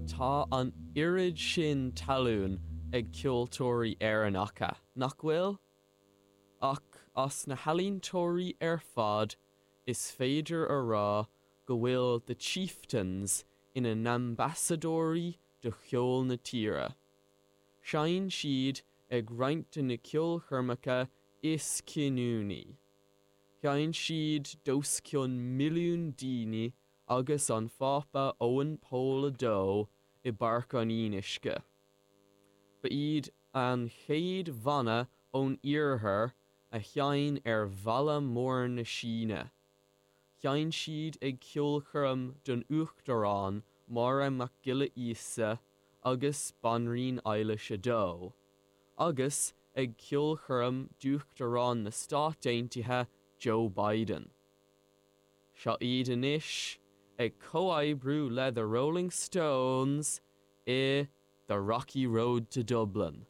Tá an oiread sin talún ag ceoltóirí Éireannacha, nach bhfuil? Ach as na healaíontóirí ar fad, is féidir a rá go bhfuil The Chieftains ina n-ambasadóirí do cheol na tíre. Sheinn siad ag roinnt de na ceolchoirmeacha is cinniúnaí. Sheinn siad d'os cionn milliún daoine agus an Phápa Eoin Pól 2 i bPáirc an Fhionnuisce. Ba iad an chéad bhanna ón iarthar a sheinn ar Bhalla Mór na Síne. Sheinn siad ag ceolchoirm don Uachtarán Máire Mac Giolla Íosa agus Banríon Eilís 2, agus ag ceolchoirm d'Uachtarán na Stát Aontaithe Joe Biden. Seo iad anois ag comhoibriú le The Rolling Stones i The Rocky Road to Dublin.